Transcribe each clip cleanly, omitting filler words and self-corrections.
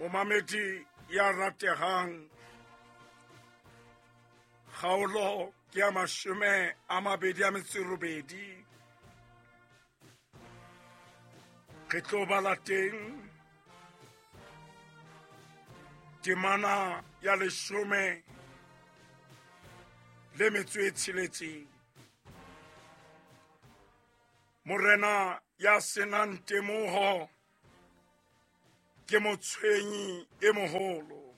Momamedi ya ratehang, kgaolo ke ya 28. Re tlo bala teng temana ya 16. Morena ya senang temoho ke motshwenyi e moholo,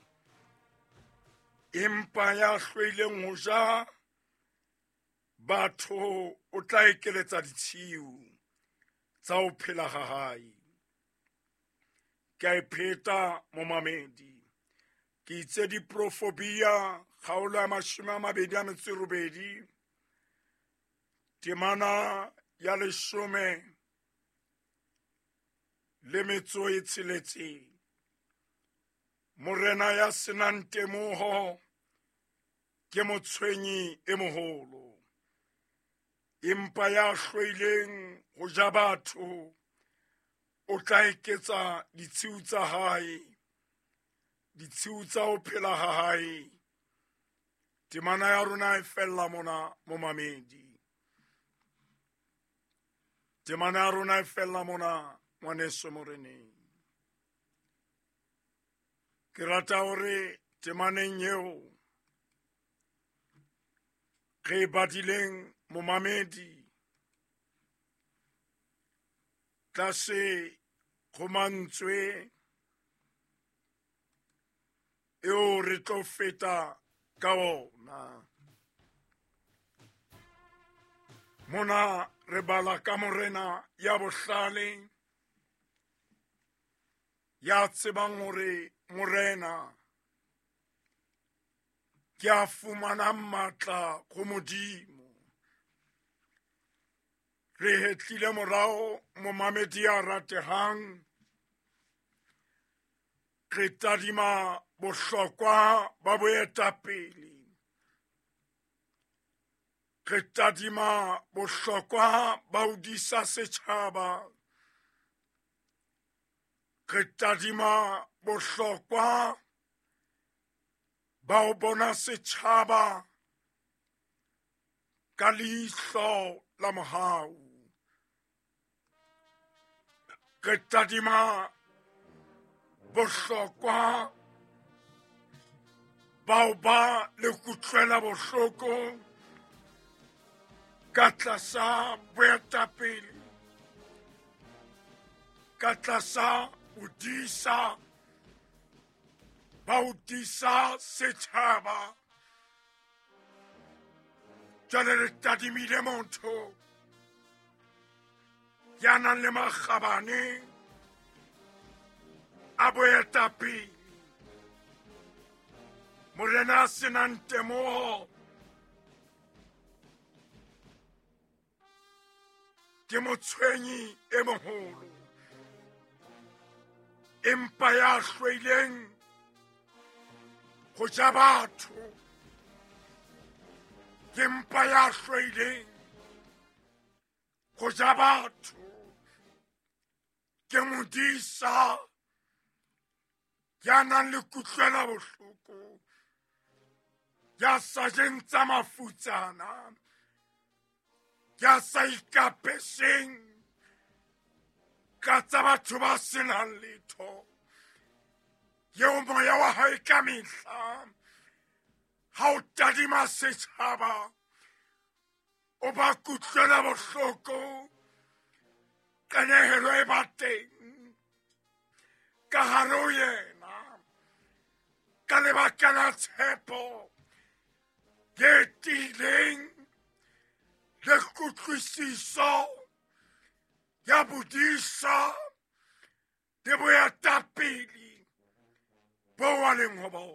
empa ya hlwaileng ho ja batho o tla ekeletsa ditshiu tsa ho phela ha hae. Ke a e pheta momamedi, ke itse diprofobia kgaolo ya 28, temana ya 16. Morena ya senang temoho ke motshwenyi e moholo, empa ya hlwaileng ho ja batho o tla eketsa ditshiu tsa hae, ditshiu tsa ho phela ha hae. Temana ya rona e fella mona momamedi. Temana ya rona e fella mona ngwaneso moreneng. Ke rata hore temaneng eo re e badileng momamedi, tlase ho mantswe eo re tlo feta ka ona. Mona re bala ka morena ya bohlale, ya tsebang hore morena ke a fumanang matla ho Modimo. Re hetlile morao momamedi ya ratehang, re tadima bohlokwa ba boetapele, re tadima bohlokwa ba ho disa setjhaba, re tadima bohlokwa ba ho bona setjhaba ka leihlo la mohau. Re tadima bohlokwa ba ho ba le kutlwela bohloko ka tlasa boetapele, ka tlasa bodisa ba ho disa setjhaba. Jwale re tadimile motho ya nang le makgabane a boetapele, morena a senang temoho ke motshwenyi e moholo, empa ya hlwaileng ho ja batho ke mpa ya hlwaileng ho ja batho ke modisa ya nang le kutlwela bohloko, ya sa jeng tsa mafutsana, ya sa ikapeseng ka tsa batho ba senang letho, eo moya wa hae ka mehla ha o tadima setjhaba o ba kutlwela bohloko, qenehelo e ba teng ka hare ho yena ka lebaka la tshepo e tiileng le kutlwisiso ya bodisa le boetapele bo a leng ho bona.